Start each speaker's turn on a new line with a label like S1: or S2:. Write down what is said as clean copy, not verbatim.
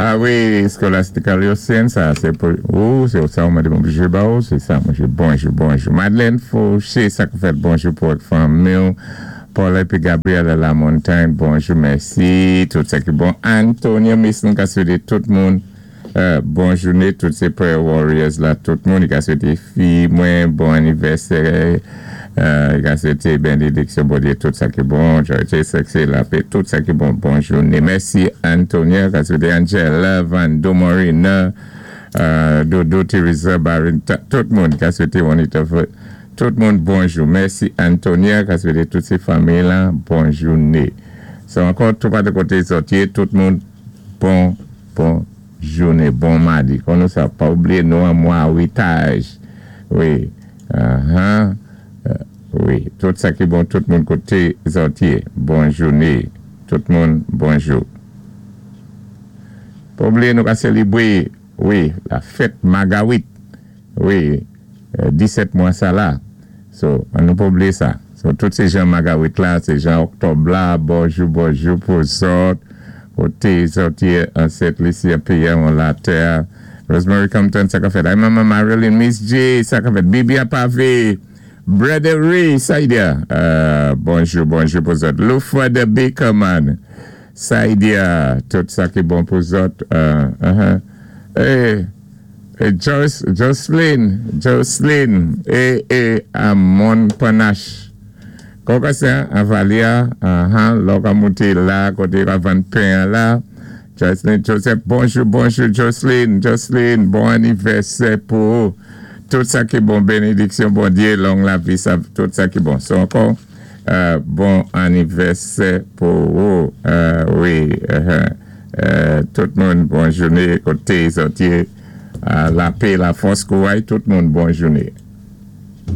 S1: Ah wi, Scholastica Lucien, sa sé pou ou, sé sa ou mandé mwen jwé ba ou, sé sa mwen jwé. Bonjou, bonjou. Madeleine Fauché, sa ki fèt, bonjou pou ak fanmi. Paul épi Gabriel La Montagne, bonjou, mèsi. Tout sa ki bon. Antonio Mason, ka swété tout moun bon jouné, tout sé Prayer Warriors la, tout moun. I ka swété fi mwen, bon anivèsè. I ka swété bénédiksyon Bondyé, tout sa ki bon. Joy, siksè, lapè, tout sa ki bon. Bon jouné. Mèsi Antonio, ka swété Angela, Vando Morina, Dodo, Teresa, Baron, tout moun, ka swété Juanita, tout moun bonjou. Mèsi Antonia, ka swété tout sé fanmi la, bon jouné. So ankò, tout pa de koté zòt yé, tout moun, bon jouné, bon madi. Kon nou sa, pa oubliyé nou an mwa witaj. Wi, wi, tout sa ki bon, tout moun koté zòt yé, bon jouné. Tout moun, bonjou. Pa oubliyé nou ka sélébwé, wi, la fèt Magawit. Wi, 17 mwa sa la. So, an nou pa oubliyé sa. So, tout sé jan Magawit la, sé jan Oktòb la, bonjou, bonjou pou zòt, koté zòt yé an Sent Lisi, an péyi an latè. Rosemary Compton, sa ka fèt. Ay Mama Marilyn, Miss J, sa ka fèt. Bibi Apave, Brother Ray, Saidia. Bonjou, bonjou pou zòt. Lufa the Baker Man. Saidia, tout sa ki bon pou zòt. Eh, Joyce, Jocelyn, Jocelyn, é, Amon Panache. Kòman sa, Avalia, lò ka monté la, koté ka vann pen la. Jocelyn Joseph, bonjou, bonjou, Jocelyn, Jocelyn, bon anivèsè pou ou. Tout sa ki bon, bénédiksyon, Bondyé, long lavi, sa, tout sa ki bon. So ankò, bon anivèsè pou ou. Wi, tout moun, bon jouné, koté zòt yé, lapè, lafòs, kouray, tout moun, bon jouné.